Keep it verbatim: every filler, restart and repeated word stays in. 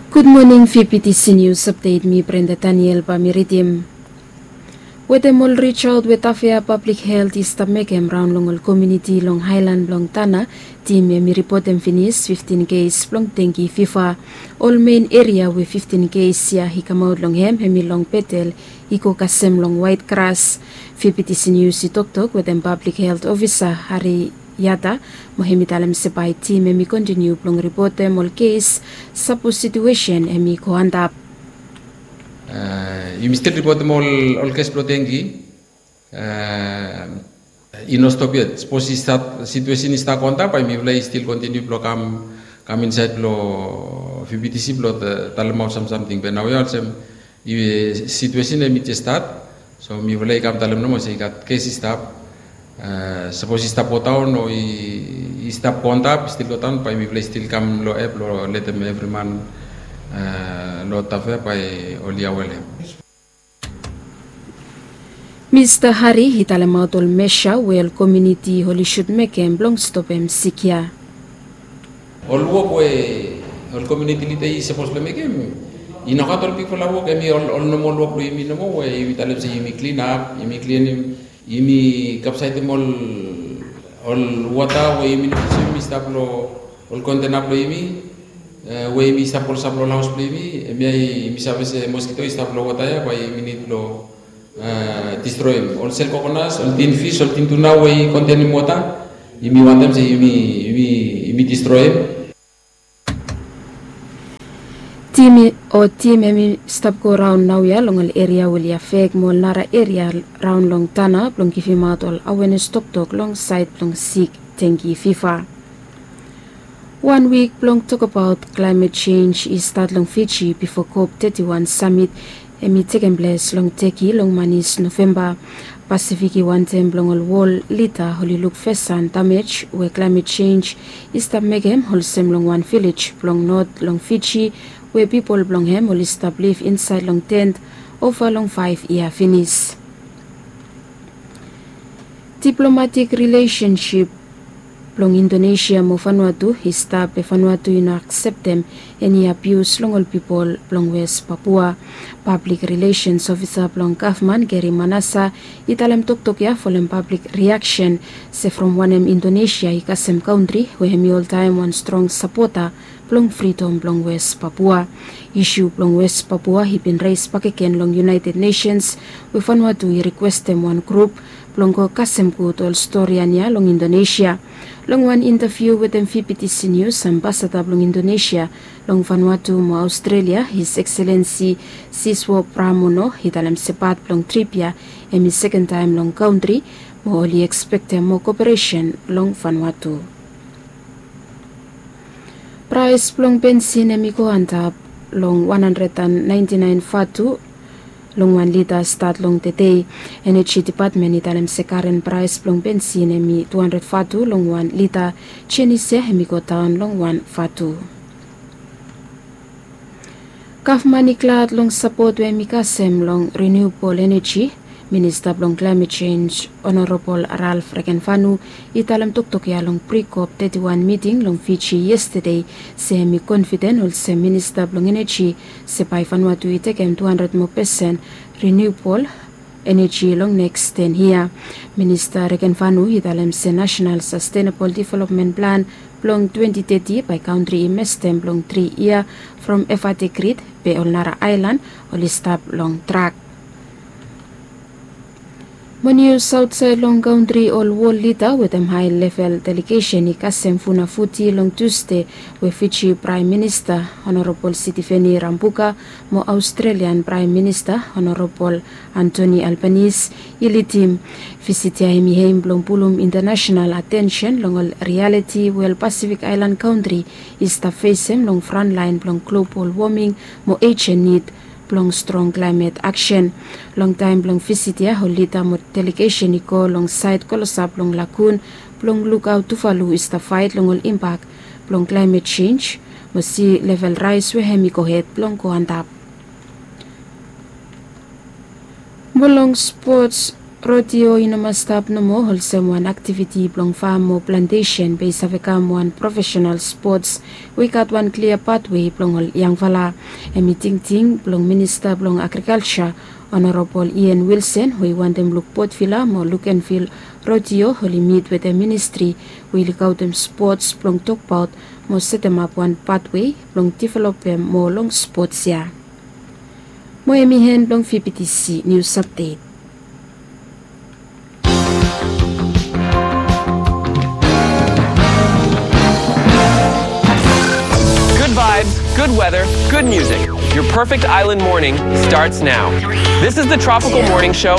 Gud moning, V P T C News Update, mi Brenda Daniel bae mi ridim. Wetem ol rijaot we Tafea Pablik Helt i stap mekem raon long ol komuniti long haelan blong Tanna, tim hem i ripotem finis fiftin kes blong dengi fiva. Ol mein eria we fiftin kes ya i kamaot long hem hem i long Betel, i go kasem long Waet Gras. V P T C News i toktok wetem Pablik Helt Ofisa Hari Yata, mo hem i talem se bae tim hem i kontiniu blong ripotem ol kes, sapos situesen hem i go antap. Yumi stil ripotem ol kes blong dengi. I no stop yet. Sapos i stat, situesen i stat go antap, bae mifala i stil kontiniu blong kam, kam insaed blong V P T C blong talemaot sam samting. Be naoia olsem situesen hem i jes stat, so mifala i kam talem nomo se i gat kes i stap. Sapos i stap godaon o i stap go antap, i stil godaon, bae mifala i stil kam long app blong letem evri man long Tafea bae oli aware long hem. Mista Hari i talemaot ol mesa we ol komuniti oli sud mekem blong stopem sik ya. Ol wok we ol komuniti lida i sapos blong mekem, i nogat ol bigfala wok, hem i ol, ol nomol wok blong yumi nomo we yumi talem se yumi klinap, yumi klinim, yumi kapsaetem ol, ol wota we yumi no yusum i stap long ol kontena blong yumi, we yumi stap olsem long haos blong yumi, hemia yumi save se moskito i stap long wota ya, bae yumi nid blong distroem. Ol sel kokonas, ol tin fis, ol tin tuna we i kontenem wota, yumi wantem se yumi, yumi, yumi distroem. Tim i, o tim hem i stap go raon naoia long ol eria we oli afek mo ol nara eria raon long Tanna blong givimaot ol awenes toktok long saed blong sik dengi fiva. Wan wik blong tokbaot klaemet jenj i stat long Fiji bifo COP teti wan samit hem i tekem ples long Teki long manis Novemba. Pasifik i wantem blong ol wol lida oli luk fes han damej we klaemet jenj i stap mekem, olsem long wan vilej blong not long Fiji we pipol blong hem oli stap liv insaed long tent ova long faef yia finis. Diplomatik rilesensip blong Indonesia mo Vanuatu i stap, be Vanuatu i no akseptem eni abius long ol pipol blong Wes Papua. Pablik rilesens ofisa blong gavman, Gary Manasa, i talem toktok ya folem pablik riaksen se from wanem Indonesia i kasem kantri we hem i oltaem wan strong sapota blong fridom blong Wes Papua. Isu blong Wes Papua i bin res bakegen long United Nations, we Vanuatu i rikwestem wan grup blong go kasem gud ol storian ya long Indonesia. Long wan intaviu wetem V P T C News, ambasada blong Indonesia long Vanuatu mo Aostrelia, His Excellency Siswo Pramono, i talem se pat blong trip ya hem i sekentaem long kantri, mo oli ekspektem moa koperesen long Vanuatu. Praes blong bensin hem i go antap long wan handred an naenti naen vatu long wan lita stat long tedei. Eneji Depatmen i talem se karen praes blong bensin hem i tu handred vatu long wan lita. Jenis ya hem i godaon long wan vatu. Gavman i glad long sapot we hem i kasem long riniubol eneji. Minista blong Klaemet Jenj, Honorabol Ralph Regenvanu, i talem toktok ya long pri-COP teti wan miting long Fiji yestede, se hem i konfiden olsem minista blong eneji se bae Vanuatu i tekem tu handred moa pesen riniubol eneji long neks ten yia. Minista Regenvanu i talem se Nasenal Sastenabol Developmen Plan blong twenti teti bae kantri i mestem blong tri yia from Avadi Grid, be ol nara aelan oli stap long trak. Mo nius aotsaed long kantri, ol wol lida wetem hae level delegesen i kasem funafuti long Tusde, we Fiji Praem Minista Honorabol Sitiveni Rabuka mo Aostrelian Praem Minista Honorabol Anthony Albanese i lidim. Visit ya hem i hem blong pulum intanasenal atensen long ol rialiti we ol Pasifik aelan kantri i stap fesem long frantlaen blong globol woming mo ejen nid blong strong klaemet aksen. Long taem blong visit ya, ol lida mo delegesen i go long saed klosap long lagun blong lukaot Tuvalu i stap faet long ol impak blong klaemet jenj mo si level raes we hem i gohed blong go antap. Mo long spots, Rodeo i no mas stap nomo olsem wan aktiviti blong fam o plantesen be i save kam wan profesenal spots we i gat wan klia patwe blong ol yangfala. Hem i tingting blong minista blong agrikalsa, Honorabol Ian Wilson, we i wantem luk Potvila mo Lukenvil Rodeo oli mit wetem ministri we i lukaotem spots blong tokbaot mo setemap wan patwe blong developem moa long spots ya. Mo hem i hen blong V B T C nius apdet. Good vibes, good weather, good music. Your perfect island morning starts now. This is the Tropical Morning Show.